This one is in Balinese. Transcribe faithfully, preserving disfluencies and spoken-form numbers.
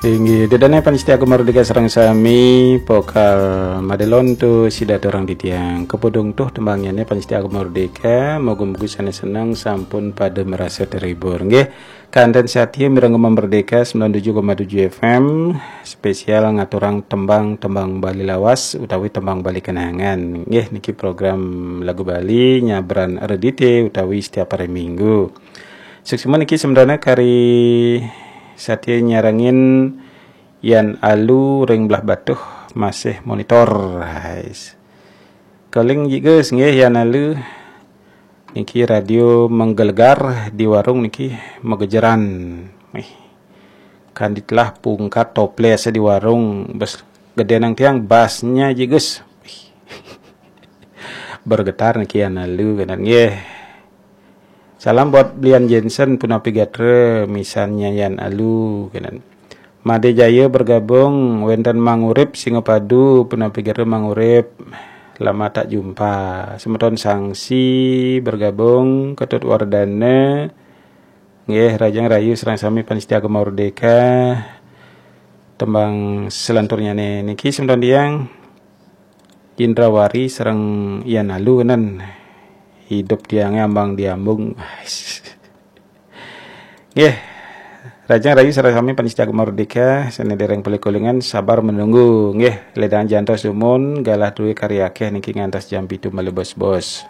Inggih, ida dané pamiarsa Gema Merdeka sareng sami, pokal madé lonto sida aturang titiang. Kapodung tuh tembangné pamiarsa Gema Merdeka, moga-moga sané seneng sampun pada merasa terhibur. Nggih, kanten satia mireng Gema Merdeka sembilan tujuh koma tujuh F M, spesial ngaturang tembang-tembang Bali lawas utawi tembang Bali kenangan. Nggih, niki program lagu Bali nyabran redite utawi setiap hari Minggu. Suksma niki sementara kari satia nyarengin Yan Alu ring Blahbatuh masih monitor. Hais. Kaling jigus nggih Yan Alu. Niki radio menggelegar di warung niki magejeran. Ih. Kan ditelah pungkat toples di warung bes gedé nang tiang basnya jigus. Ih. Bergetar niki Yan Alu kenan nggih. Salam buat Blian Jensen punapi gatra misannya Yan Alu kenan. Madé Jaya bergabung, wénten Mang Urip Singapadu punapi gatra Mang Urip. Lama tak jumpa. Semeton Sangsi bergabung, Ketut Wardana. Nggih, rahajeng rahayu sareng sami pamiarsa Gema Merdeka. Tembang selanturnyané niki semeton tiang Indrawari sareng Yan Alu kenan. Hidup tiangé ambang diambung. Nggih. Rahajeng rahayu sareng sami pamiarsa Gema Merdeka, sané dereng polih kulingan sabar menunggu. Nggih, ledang jantos dumun, galah dué kari akéh niki ngantos jam pitu malih bos-bos.